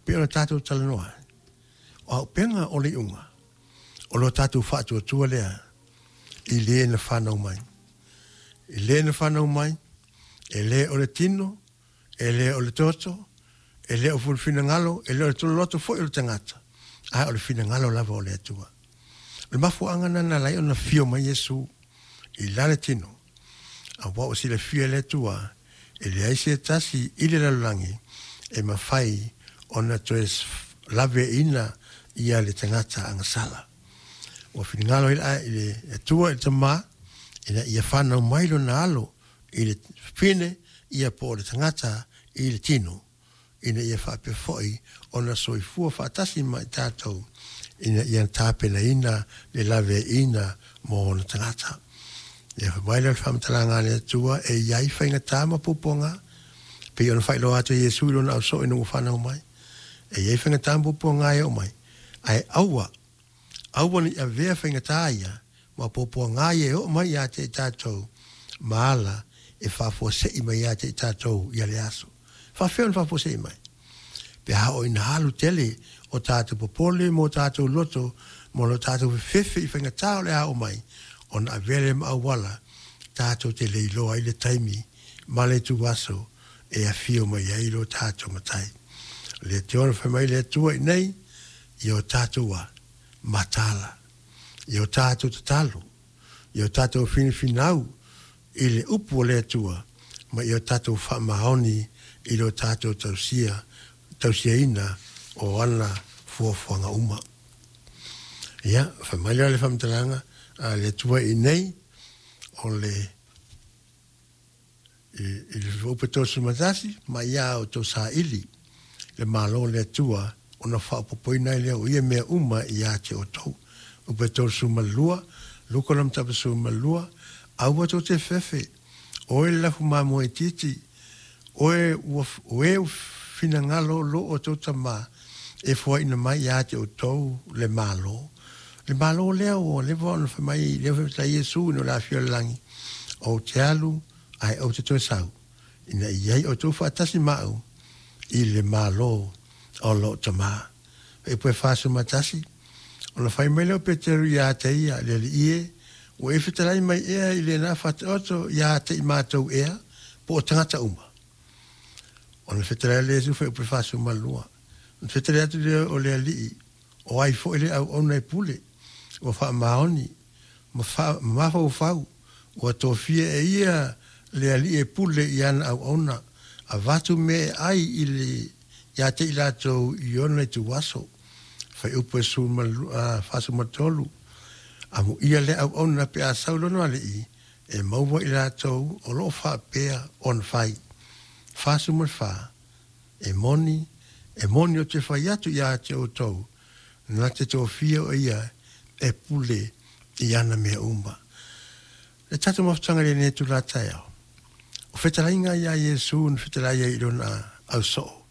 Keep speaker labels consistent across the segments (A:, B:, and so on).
A: Pei ona tatou talanoa ai, o auupega o le iuga, o lo tatou faatuatua lea i le na fanau mai. I le na fanau mai, e le o le tino, e le o le toto, e le o foi le finagalo, e le o le tololoto foi o le tagata, ae o le finagalo lava o le Atua. O le mafuaaga lena na ala ai ona afio mai Iesu i la le tino, aua ua silafia e le Atua e leai se tasi i le lalolagi e mafai ona toe laveaiina ia le tagata agasala. Ua finagalo ai le Atua i le Tama ina ia fanau mai lona alo i le fine ia po o le tagata i le tino, ina ia faapea foi ona soifua faatasi ma i tatou ina ia tapenaina le laveaiina mo ona tagata. Ia fai mai lea o le faamatalaga a le Atua e i ai faigata ma puapuaga, pei ona faailoa atu e Iesu i lona ausoo ina ua fanau mai. E i ai faigata ma puapuaga e oo mai, ae aua, aua ne i avea faigata ia ma puapuaga ia e oo mai ia te i tatou ma ala e faafuasei mai ia te i tatou ia le aso. Faafefea ona faafuasei mai? Pe a oo ina alu tele o tatou popole ma o tatou loto ma lo tatou fefefe i faigata o le a oo mai, ona avea lea ma auala tatou te le iloa ai le taimi ma le ituaso e afio mai ai lo tatou Matai. O lea te ono fai mai le Atua i nei, ia o tatou a mataala, ia o tatou tatalo, ia o tatou finafinau i le upu a le Atua, ma ia o tatou faamaoni i lo tatou tausia, tausiaina o ana fuafuaga uma. Ia, fai mai lea o le faamatalaga a le Atua i nei, o le i le fuaiupu 31, ma ia a outou saili le Malo o le Atua, ona faaopoopoina ai lea o ia mea uma ia te outou. Upu 32, Luka lona mataupu 12, Aua tou te fefe, oe le lafu mamoe itiiti, oe ua, o e ua finagalo lo outou Tama e foaiina mai ia te outou le Malo. Le Malo lea ua leva ona fai mai, lea foi sa Iesu ina o le afio i le lagi, ou te alu ae ou te toe sau, ina i ai outou faatasi ma au i le Malo o lou Tama. Fuaiupu e 41, Ona fai mai lea o Peteru iā te ia, Le Alii e, ua e fetalai mai ea i lena faataoto iā te i mātou ea, po o tagata uma? Ona fetalai lea Iesu fuaiupu e 42, Ona fetalai atu lea o le Alii, O ai foi le auauna e pule, ua faamaoni ma mafaufau, ua tofia e ia le alii e pule i ana auauna, avatu mea e ai i le ia te i latou i ona ituaso. Fuaiupu e 43, Amuia lea auauna pe a sau lona alii, e maua i latou o lo o faapea ona fai. 44, E moni, e moni ou te fai atu iā te outou, na te tofia o ia e pule i ana mea uma. Le tatou mafutaga i lenei itula taeao, o fetalaiga iā Iesu na fetalai ai i lona ausoo,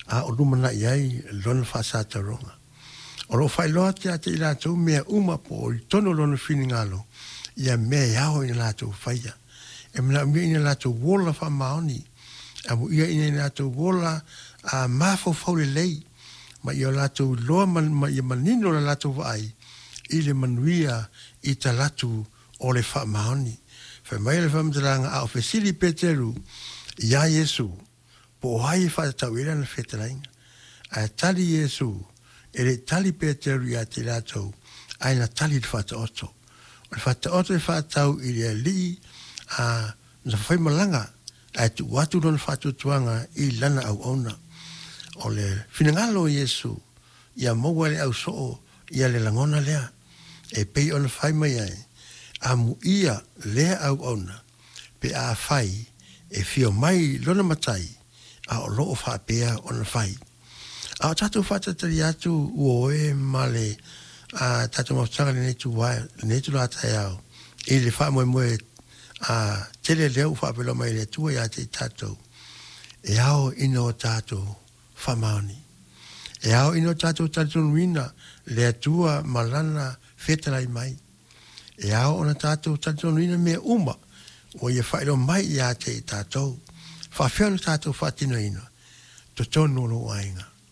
A: a o lumanai ai lona faasataroga. O lo o faailoa atu ia te i latou mea uma po o i totonu o lona finagalo ia mea e ao ina latou faia. E manaomia ina latou ola faamaoni, amuia ina ia latou ola a mafaufau lelei, ma ia latou iloa ma ia manino la latou vaai i le manuia i talatu o le faamaoni. Fai mai le faamatalaga a o fesili Peteru iā Iesu, Po o ai e faatatau i ai lana fetalaiga. Ae tali Iesu, e le i tali Peteru ia te latou, ae na tali i le Faataoto. O le Faataoto e faatatau i le Alii, a na faimalaga ae tuu atu lona faatuatuaga i lana auauna. O le finagalo o Iesu, ia maua e le ausoo ia le lagona lea, e pei ona fai mai ai, Amuia lea auauna, pe afai e fio mai lona matai, a o lo o faapea ona fai. A o tatou faatalitali atu ua oe ma le a tatou mafutaga i lenei itula, lenei itula taeao i le faamoemoe a tele lea ua faapelo mai e le Atua ia te i tatou, e ao ina o tatou faamaoni. E ao ina o tatou talitonuina le Atua ma Lana fetalai mai. E ao ona tatou talitonuina mea uma ua Ia faailoa mai ia te i tatou. Faafefea ona tatou faatinoina totonu o lou aiga?